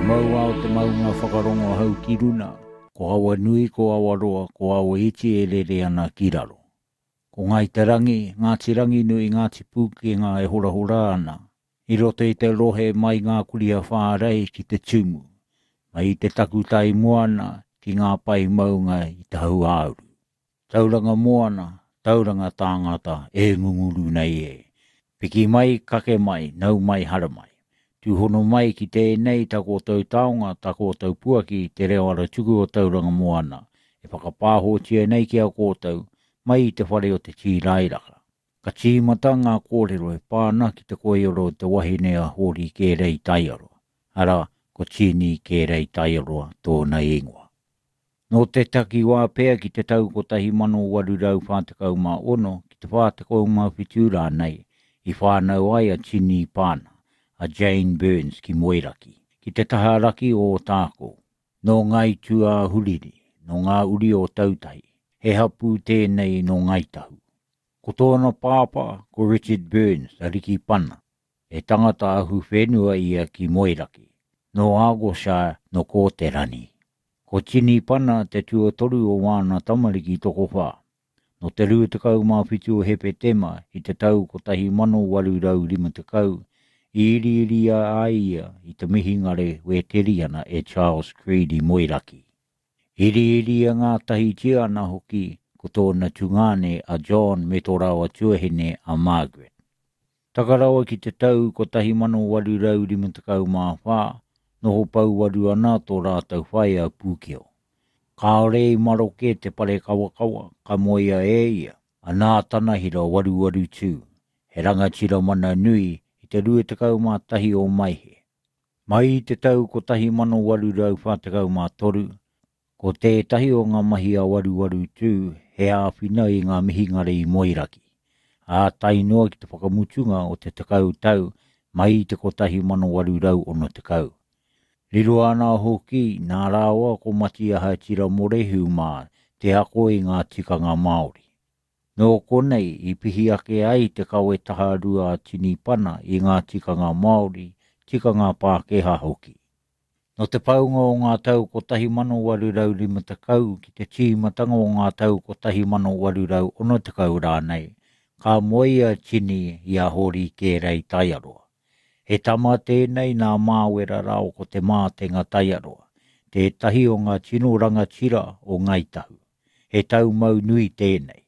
Maua o te maunga whakarongo hau ki runa, ko Awanui, ko Awaroa, ko Awaiti e rere ana ki raro. Ko Ngāi Te Rangi, Ngāti Ranginui, Ngāti Pūkenga e horahora ana, i roto i te rohe mai ngā kurī-a-Whārei ki Te Tumu, mai i te takutai moana ki ngā pae maunga i te hauāuru. Tauranga moana, tauranga tāngata e ngunguru nei e. Piki mai, kake mai, nau mai, haramai. Tūhono mai ki tēnei tā koutou taonga, tā koutou puaki, te reo aratuku o Tauranga Moana, e whakapāhotia nei ki a koutou, mai i te whare o te Tīrairaka. Ka tīmata ngā kōrero e pā ana ki te koiora o te wahine a Hōri Kērei Taiaroa, arā, ko Tini Kērei Taiaroa tōna ingoa. Nō te takiwā pea ki te tau 1846 ki te 47 rānei i whānau ai a Tini Pana, a Jane Burns ki Moeraki, ki te taha raki o Ōtākou. Nō Ngāi Tūāhuriri, nō ngā uri o Tautahi, he hapū tēnei nō Ngāi Tahu. Ko tōna pāpā ko Richard Burns, ariki pana, he tangata ahu whenua ia ki Moeraki, nō Argyllshire, nō Kōterani. Ko Tini Pana te tuatoru o wāna tamariki tokowhā. Nō te 27 o Hepetema i te tau 1850 i iriiria ai ia i te mihingare Wēteriana e Charles Creed i Moeraki. Iriiria ngātahitia ana hoki ko tōna tungāne a John me tō rāua tuahine a Margaret. Taka rawa ki te tau 1854, noho pouwaru ana tō rātou whaea Pūkeo. Kāore i maroke te parekawakawa ka moea e ia a Nātanahira Waruwarutū, he rangatira mana nui i te 21 o Maehe. Mai i te tau 1843, ko tētahi o ngā mahi a Waruwarutū he āwhina i ngā mihingare i Moeraki, ā, tae noa ki te whakamutunga o te tekau tau mai i te 1860. Riro ana hoki nā rāua ko Matiaha Tiramorehu mā te ako i ngā tikanga Māori. Nō konei i pihi ake ai te kawe taharua a Tini Pana i ngā tikanga Māori, tikanga Pākehā hoki. Nō te paunga o ngā tau 1850 ki te tīmatanga o ngā tau 1860 rānei, ka moe a Tini i a Hōri Kērei Taiaroa. He tama tēnei nā Māwera rāua ko Te Mātenga Taiaroa, tētahi o ngā tino rangatira o Ngāi Tahu. He taumau nui tēnei.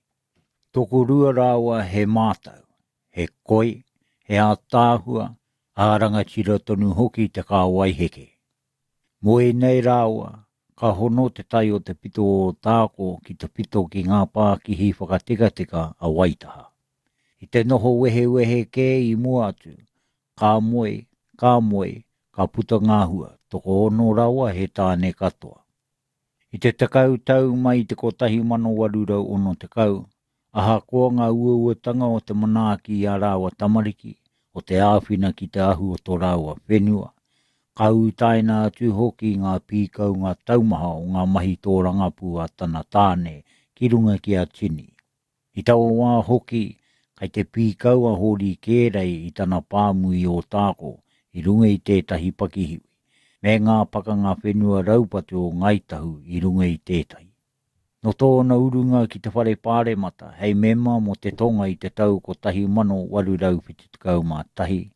Tokorua rāua he mātau, he koi, he ātaahua, ā rangatira tonu hoki te kāwai heke. Moe nei rāua, ka hono te tai o te pito o Ōtākou ki te pito ki ngā pākihi whakatekateka a Waitaha. I te noho wehewehe kē i mua atu, ka moe, ka moe, ka puta ngā hua, tokoono rawa he tāne katoa. I te tekau tau mai i te 1860, ahakoa ngā uauatanga o te manaaki i ā rāua tamariki, o te āwhina ki te ahu o tō rāua whenua, ka utaina atu hoki ngā pīkaunga taumaha o ngā mahi tōrangapū a tana tāne ki runga ki a Tini. I taua wā hoki, kai te pīkau a Hōri Kērei i tana pāmu i Ōtākou i runga i tētahi pakihiwi, me ngā pakanga whenua raupatu o Ngāi Tahu i runga i tētahi. Nō tōna urunga ki te Whare Pāremata hei mema mō te Tonga i te tau 1871,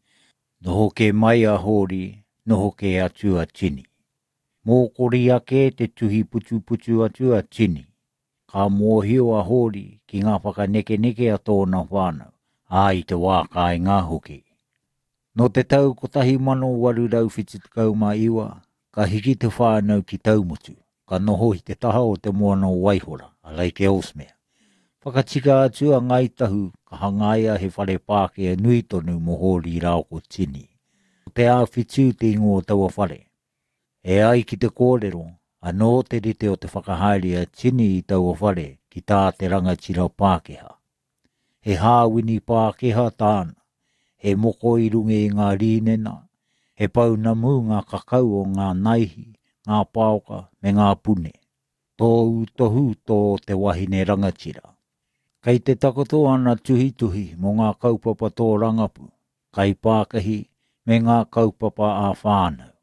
noho kē mai a Hōri, noho kē atu a Tini. Mōkori ake te tuhi putuputu atu a Tini. Ka mōhio a Hōri ki ngā whakanekeneke a tōna whānau, ā, i te wā kāinga hoki. Nō te tau 1879, ka hiki te whānau ki Taumutu, ka noho i te taha o te moana o Waihora, a Lake Ellesmere. Whakatika atu a Ngāi Tahu ka hangaia he whare Pākehā nui tonu mō Hōri rāua ko Tini. Ko Te Āwhitū te ingoa o taua whare. E ai ki te kōrero, anō te rite o te whakahaere a Tini i taua whare ki tā te rangatira Pākehā. He hāwini Pākehā tāna, he moko i runga i ngā rīnena, he pounamu ngā kakau o ngā naihi, ngā paoka me ngā pune. Tōu tohu tō te wahine rangatira. Kei te takoto ana tuhituhi mō ngā kaupapa tōrangapū, kaipākahi me ngā kaupapa ā-whānau.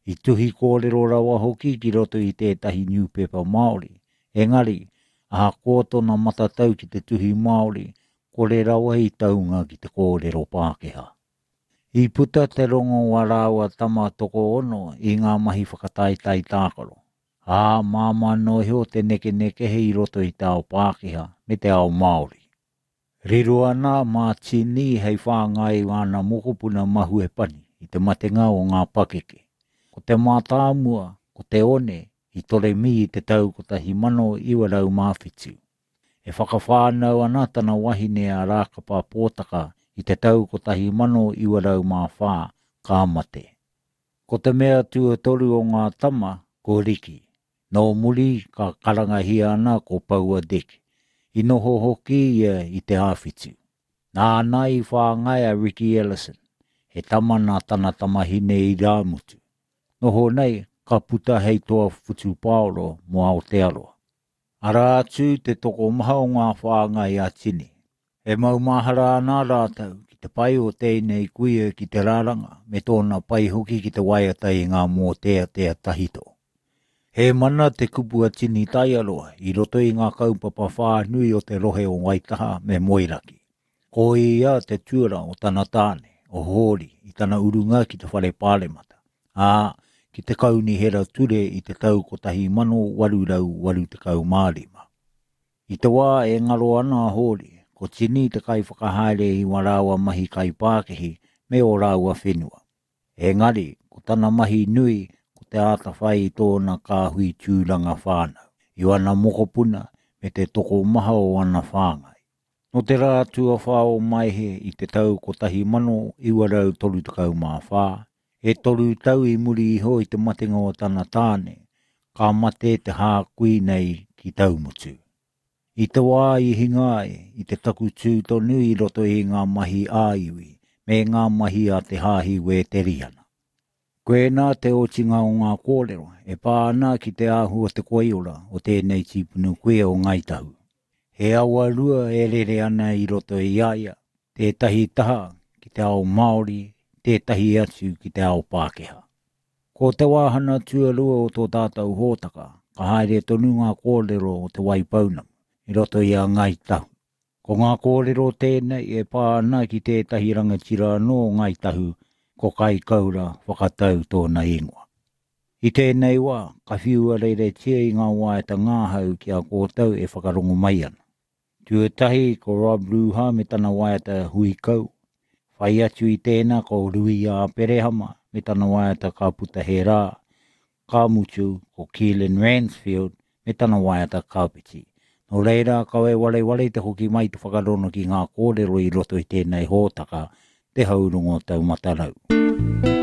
I tuhi kōrero rawa hoki ki roto i tētahi niupepa Māori, engari, ahakoa tōna matatau ki te tuhi Māori, kore rawa i taunga ki te kōrero Pākehā. I puta te rongo o ā rāua tama tokoono i ngā mahi whakataetae tākaro, ā, māmā noa iho te nekenekehe i roto i te ao Pākehā me te ao Māori. Riro ana mā Tini hei whāngai i āna mokopuna mahue pani i te matenga o ngā pakeke. Ko te mātāmua, ko te one, i toremi i te tau 1907. E whakawhānau ana tana wahine a Rākapa Pōtaka i te tau 1904, ka mate. Ko te mea tuatoru o ngā tama, ko Riki. Nō muri ka karangahia ana ko Paua Dick. I noho hoki ia i Te Āwhitu. Nāna i whāngai a Ricky Ellison, he tama nā tana tamahine irāmutu. Noho nei, ka puta hei toa whutupaoro mō Aotearoa. Arā atu te tokomaha o ngā whāngai a Tini. E maumahara ana rātou ki te pai o tēnei kuia ki te raranga me tōna pai hoki ki te waiata i ngā mōteatea tahito. He mana te kupu a Tini Taiaroa i roto i ngā kaupapa whānui o te rohe o Waitaha me Moeraki. Ko ia te tuara o tana tāne, o Hōri, i tana urunga ki te Whare Pāremata, ā, ki te Kaunihera Ture i te tau 1885. I te wā e ngaro ana a Hōri, ko Tini te kaiwhakahaere i wā rāua mahi kaipākihi me ō rāua whenua. Engari, ko tana mahi nui ko te āta whai i tōna kāhui tūranga whānau, i wana mokopuna me te tokomaha o ana whāngai. Nō te rā tuawhā o Maehe i te tau 1934, E toru tau i muri iho i te matenga o tana tāne, ka mate te hākui nei ki Taumutu. I te wā i hinga ai, i te takutū tonu i roto i ngā mahi ā-iwi me ngā mahi a te Hāhi Wēteriana. Koinā te otinga o ngā kōrero e pā ana ki te āhua o te koiora o tēnei tīpuna kuia o Ngāi Tahu. He awa rua e rere ana i roto i a ia, tētahi taha ki te ao Māori, tētahi atu ki te ao Pākehā. Ko te wāhana tuarua o tō tātou hōtaka, ka haere tonu ngā kōrero o Te Waipounamu i roto i a Ngāi Tahu. Ko ngā kōrero tēnei e pā ana ki tētahi rangatira anō o Ngāi Tahu, ko Kaikaura Whakatau tōna ingoa. I tēnei wā, ka whiua reretia i ngā waiata ngahau ki a koutou e whakarongo mai ana. Tuatahi ko Rob Ruha me tana waiata Hui Kau. Whai atu i tēnā ko Rui Āperehama me tana waiata Ka Puta He Rā. Ka mutu ko Keelan Ransfield me tana waiata Kāpiti. Nō reira, kawe wareware te hoki mai te whakarono ki ngā kōrero i roto i tēnei hōtaka, Te Haurongo Taumata Rau.